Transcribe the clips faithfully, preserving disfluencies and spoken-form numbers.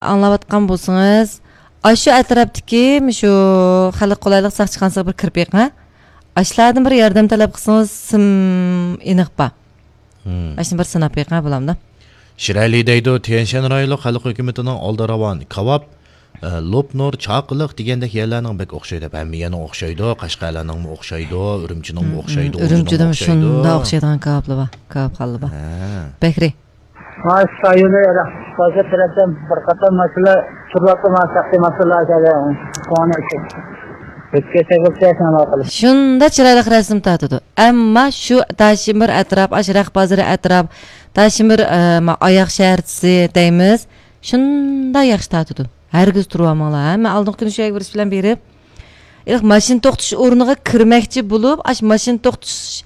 ئاڭلاۋاتقان بولسىڭىز، ئاشۇ ئەتراپتىكى شۇ خەلق قولايلىق ساقچىخانىسىغا بىر كىرىپ بېقىڭ. ئاشۇلاردىن بىر ياردەم تەلەپ قىلسىڭىز، سىم ئېنىق بار. مم. ئاشۇنى بىر سىناپ بېقىڭ، بولامدۇ؟ شىرئەلى دەيدۇ، تيەنشەن رايونلۇق خەلق ھۆكۈمىتىنىڭ ئالدى راۋان، كاۋاپ، ئە، لوپنۇر، چاقىلىق دېگەندەك يەرلەرنىڭ بەك ئوخشايدۇ دەپ. ھەممە يەرنىڭ ئوخشايدۇ، قەشقەرلەرنىڭمۇ ئوخشايدۇ، ئۈرۈمچىنىڭمۇ ئوخشايدۇ، ئۈرۈمچىدىمۇ شۇنداق ئوخشايدىغان كاۋاپلار بار، كاۋاپخانىلار بار. ھە. بەكرى. مانا شۇ رايوندا ھازىر تەرەپتىن بىر قاتار ماشىنىلار تۇرۇۋاتىدۇ، مانا شەخسىي ماشىنىلار كەلگەن. كونا ئىشىك. ئۆتكەن سەگىلچە شۇنداق قىلىپ. شۇنداق چىرايلىق رەسىم تارتىدۇ. ئەمما شۇ داشىمىر ئەتراپ، ئاشۇ رەخت بازىرى ئەتراپ، داشىمىر، ئە، ما-، ئاياغ شەھەرچىسى دەيمىز. شۇنداق ياخشى تارتىدۇ. ھەرگىز تۇرۇۋالماڭلار، ھە؟ مەن ئالدىنقى كۈنى شۇ يەرگە بېرىش بىلەن بېرىپ، ھېلىقى ماشىنا توختىتىش ئورنىغا كىرمەكچى بولۇپ، ئاشۇ ماشىنا توختىتىش،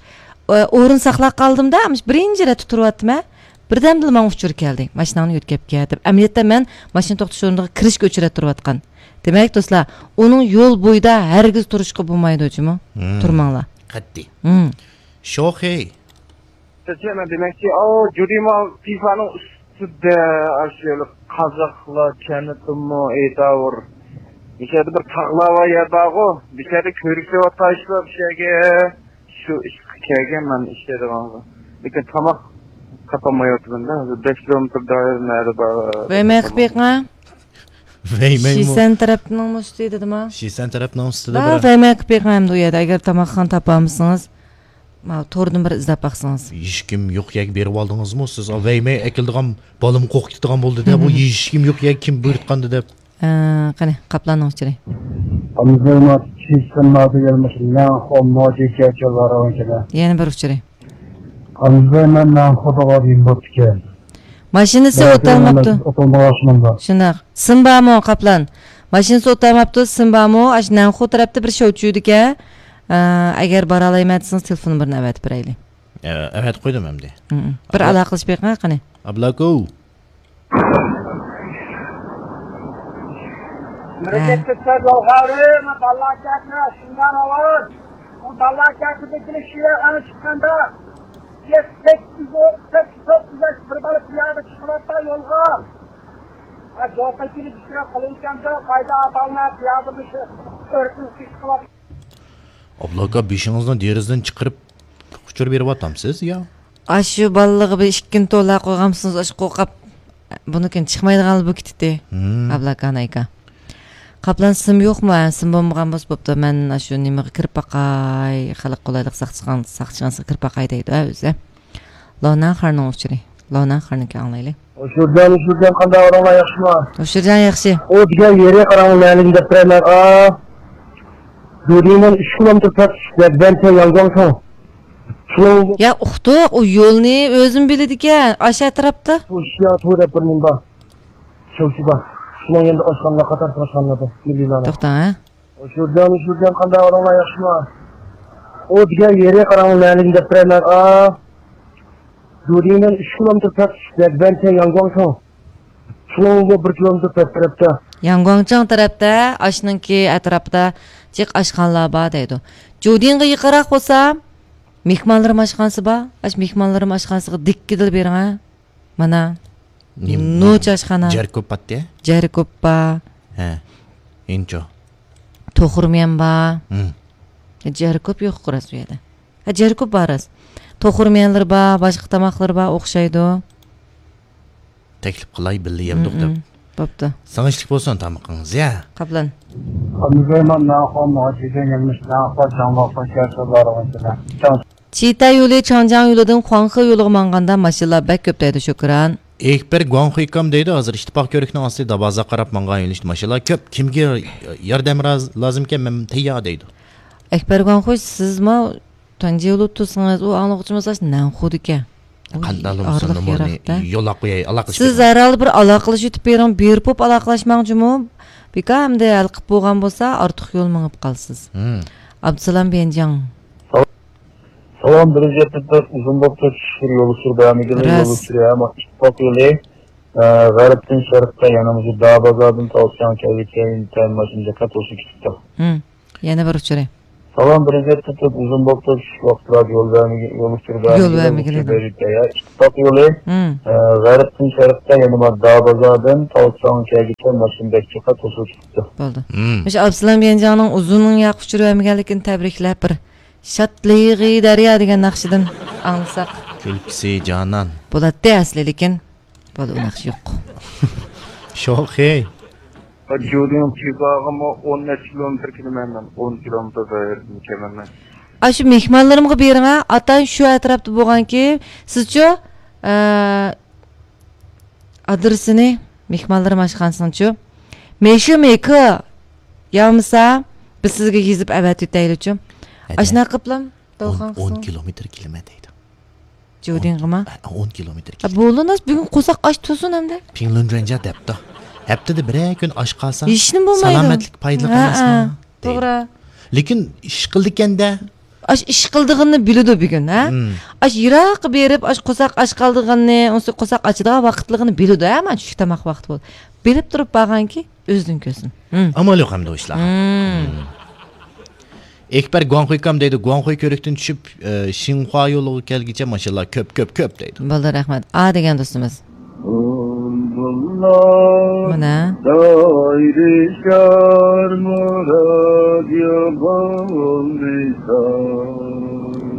ئە، ئورۇن ساقلاپ قالدىم-دە، مۇشۇ بىرىنچى رەتتە تۇرۇۋاتتىمەن. بىردەمدىلا ماڭا ئۇچۇر كەلدى، ماشىناڭنى يۆتكەپ كەت دەپ. ئەمەلىيەتتە مەن ماشىنا توختىتىش ئورنىغا كىرىشكە ئۇچرەپ تۇرۇۋاتقان. دېمەك، دوستلار، ئۇنىڭ يول بويىدا ھەرگىز تۇرۇشقا بولمايدۇ جۇمۇ. مم. تۇرماڭلار. قەتئىي. مم. شوخېي. سىزچە مەن دېمەكچى، ئاۋۇ جۇدىما پىفانىڭ ئۈستىدە ئاشۇ قازاقلار چەنىتىمۇ ئېيتاۋۇر. بۇ يەردە بىر تاغلار بار يەر بارغۇ. بۇ يەردە كۆرۈكلەر تاشلاپ بۇ يەرگە. شۇ ئىشقا كەلگەن مەن ئىشلەيدىغانغا. لېكىن تاماق تاپالمايۋاتىمەن-دە. ھازىر بەش كىلومېتىر دائىرە نەدە بار؟ ۋەيمەي قىلىپ بېقىڭە. ۋەيمەيمۇ؟ شىسەن تەرەپنىڭ ئۈستى دېدىما؟ شىسەن تەرەپنىڭ ئۈستىدە ۋە بىر ۋەيمەي قىلىپ بېقىڭ ئەمدى ئۇ يەردە. ئەگەر تاماقخانا تاپالمىسىڭىز، ماۋۇ توردىن بىر ئىزدەپ باقسىڭىز. ھېچكىم يوق يەرگە بېرىۋالدىڭىزمۇ سىز؟ ۋەيمەي ئەكېلىدىغان بالىمۇ قورقۇپ كېتىدىغان بولدى-دە، بۇ ھېچكىم يوق يەرگە كىم بۇيرۇتقاندى دەپ. ئە، قېنى، قاپلاننىڭ ئۇچۇرى. يەنە بىر ئۇچۇرى. ماشىنىسى ئۆتەلمەپتۇ. شۇنداق. سىم بارمۇ، قاپلان؟ ماشىنىسى ئۆتەلمەپتۇ، سىم بارمۇ؟ ئاشۇ نەنخۇ تەرەپتە بىر شوۋچۈيدىكەن. ئە، ئەگەر بارالايمەن دېسىڭىز، تېلېفون نومۇرىنى ئەۋەتىپ بېرەيلى. ئە، ئەۋەتىپ قويدۇم ئەمدى. ھىم. بىر ئالاقىلىشىپ بېقىڭ، قېنى. ئابلاكو. مۇرەججەت كۆتۈر يولغا ئۇرۇڭ، داللا كەتمە، شۇنداق ئاۋاز. ئۇ داللا كەتمىدىكىنى شۇ يەرگە چىققاندا، يەتتە، سەككىز، ئون، سەككىز، توققۇز ياش بىر بالا پىيادە چىقىۋاتقان يولغا. ھە، جوپا كېلىپ ئىشرا قىلىۋاتقاندا، قايدا ئاتالما پىيادە مۇشۇ ئۆركۈن چىقىۋاتقان. ئابلاكا، بېشىڭىزنى دېرىزىدىن چىقىرىپ، ئۇچۇر بېرىۋاتامسىز يا؟ ئاشۇ بالىلىقى بىر ئىككىنى تولا قويغانمىسىڭىز، ئاشۇ قورقاپ، بۇنىڭكىن چىقمايدىغانلا بولۇپ كېتىتتى. ھىم. ئابلاكان ئاكا. قاپلان، سىم يوقمۇ؟ ھە، سىم بولمىغان بولسا بوپتۇ. مەن ئاشۇ نېمىغا كىرىپ باقاي، خەلق قولايلىق ساقچىخان-، ساقچىخانىسىغا كىرىپ باقاي دەيدۇ، ھە، ئۆزى. لونەن خارنىڭ ئۇچۇرى. لونەن خارنىڭكى ئاڭلايلى. ھوشۇرجان، ھوشۇرجان، قانداق ئەھۋالىڭلار، ياخشىمۇ؟ ھوشۇرجان ياخشى. ئۇ دېگەن يېرى قاراڭغۇ نەلىگىنى دەپ بېرەيمەن. ئا، دۇدىڭدىن ئۈچ كىلومېتىر پەس، يەنگۇاڭچىڭ. شۇنىڭ يا ئۇقتۇق، ئۇ يولنى ئۆزىمۇ بىلىدىكەن، ئاشۇ ئەتراپتا. شۇ ئىشيا تۇ دەپ بىر نېمە بار. شۇ، شۇ بار. شۇنىڭ يېنىدا ئاشخانىلار، قاتار ئاشخانىلار بار. مىليونلار. توختاڭ، ھە. ھوشۇرجان، ھوشۇرجان، قانداق ئەھۋالىڭلار، ياخشىمۇ؟ ئۇ دېگەن يېرى قاراڭغۇ نەلىگىنى دەپ بېرەيمەن. ئا، دۇدىڭدىن ئۈچ كىلومېتىر پەس، يەنگۇاڭچىڭ. شۇنىڭغۇ بىر كىلومېتىر پەس تەرەپتە. ياڭگۇاڭچىڭ تەرەپتە، ئاشنىڭكى ئەتراپىدا جىق ئاشخانىلار بار دەيدۇ. جۇدىڭغا يېقىنراق بولسا، مېھمانلىرىم ئاشخانىسى بار. ئاشۇ مېھمانلىرىم ئاشخانىسىغا دىككىدىلا بېرىڭە. مانا. نېمە؟ نوچى ئاشخانا. جەركوب باتتى؟ جەركوب بار. ھە. ئىنچو. توخۇرمىيەن بار. ھىم. جەركوب يوق راست ئۇ يەردە. ھە، جەركوب بار راست. توخۇرمىيەنلىرى بار، باشقا تاماقلىرى بار، ئوخشايدۇ. تەكلىپ قىلاي، بىللە يەمدۇق دەپ. بوپتۇ. سىڭىشلىك بولسۇن تامىقىڭىز، يا. قاپلان. چىتە يولى چاڭجياڭ يولىدىن خۇاڭخې يولىغا ماڭغاندا ماشىنىلار بەك كۆپ دەيدۇ، شۈكران. ئېكبەر گۇاڭخۇي ئۇكام دەيدۇ، ھازىر ئىتتىپاق كۆۋرۈكنىڭ ئاستى دابازاغا قاراپ ماڭغان يۆنىلىشتە ماشىنىلار كۆپ. كىمگە ياردەم راز-، لازىمكەن، مەن تەييار دەيدۇ. ئەكبەر گۇاڭخۇي، سىزمۇ تۇنجى بولۇپ تۇرسىڭىز، ئۇ ئاڭلىغۇچىمىز ئاشۇ نەنخۇدىكەن. قانداق بولسا ئارىلىق نومۇرنى يىراق-دە. يوللاپ قوياي، ئالاقىلىشىپ سىز كېتىڭ. ھەر ھالدا بىر ئالاقىلىشىۋېتىپ بېرىڭ، بېرىپ بولۇپ ئالاقىلاشماڭ جۇمۇ. بىكار ئەمدى ھەل قىلىپ بولغان بولسا، ئارتۇق يول مېڭىپ قالىسىز. ھىم. ئابدۇسالام بيەنجياڭ. سالام، بىر يۈز يەتمىش تۆت ئۇزۇن بوپتۇ، چۈشكۈر يول ئۇچۇرى بەرمىگىلى، يول راست. ئۇچۇرى ھەم ئىتتىپاق يولى، ئە، غەربتىن شەرققە، يەنە مۇشۇ دابازادىن تاۋشياڭ كەلگۈچە ئىنتايىن ماشىنا دىققەت بولسا كېتىپتۇ. ھىم. يەنە بىر ئۇچۇرى. داۋام بىر يىگىت تۇتۇپ ئۇزۇن بوپتۇ، چۈشلۈك ۋاقىتلاردا يول بەرمىگە-، يول ئۇچۇر يول بەرمىگىلى بەرمىگىلى. ئۇچۇر بېرىپ بەرگەن. ئىتتىپاق يولى، مم. ئە، غەربتىن شەرققە، يەنە ما دابازاردىن تاۋساڭ كەگىچە ماشىنا بەك جىققا توسۇلۇپ چىقىپتۇ. بولدى. مم. مۇشۇ ئابسالام گەنجاڭنىڭ ئۇزۇننىڭ ياق ئۇچۇر بەرمىگەنلىكىنى تەبرىكلەپ بىر شادلىقى دەريا دېگەن ناخشىدىن ئاڭلىساق. كۈلكىسى جانان. بولاتتى ئەسلى، لېكىن بولدى، ئۇ ناخشا يوق. شوخەي. جۇدىڭ چىباغىمۇ ئون نەچچە كىلومېتىر كېلىمەن مەن. ئون كىلومېتىر دائىرىدىن كېلىمەن مەن. ئاشۇ مېھمانلىرىمغا بېرىڭە، ئاتان شۇ ئەتراپتا بولغانكى، سىزچۇ، ئە، ئادرېسىنى مېھمانلىرىم ئاشخانىسىنىڭچۇ. مېشۇ مېكى يامىسا، بىز سىزگە يېزىپ ئەۋەتىۋېتەيلىچۇ. ئەدە. ئاشۇنداق قىپلام، ئون، دولقان ئون قىسمى. كىلومېتىر كېلىمەن دەيدۇ. جۇدىڭغىما؟ ئون، ئون كىلومېتىر ئا، كېلىمەن. بولۇناس، بۈگۈن قورساق ئاچ تۇرسۇن ئەمدى. پىڭلۇنجۈەنجيا دەپتۇ. ھەپتىدە بىرەر كۈن ئاچ قالسا، ھېچنېمە بولمايدۇ. سالامەتلىك پايدىلىق ھە، ئەمەسمۇ؟ ھە، دەيدۇ. توغرا. لېكىن ئىش قىلىدىكەن-دە. ئاش ئىش قىلىدىغىنىنى بىلىدۇ بۈگۈن، ھە؟ مم. ئاش يىراققا بېرىپ، ئاش قورساق ئاچ قالىدىغىنىنى، ئۇنسى قورساق ئاچىدىغان ۋاقىتلىقىنى بىلىدۇ، ھە؟ مانا چۈشلۈك تاماق ۋاقتى بولدى. بىلىپ تۇرۇپ بارغانكى، ئۆزىدىن كۆرسۇن. مم. ئامال يوق ئەمدى ئۇ ئىشلارغا. مم. مم. ئەكبەر گۇاڭخۇي كام دەيدۇ، گۇاڭخۇي كۆۋرۈكتىن چۈشۈپ، ئە، شىنخۇا يولىغا كەلگۈچە ماشىنىلار كۆپ، كۆپ، كۆپ دەيدۇ. بولدى، رەھمەت. ئا دېگەن دوستىمىز. بۇلبۇللار مانا. دائىرىشار مۇراد يوقالمىسا.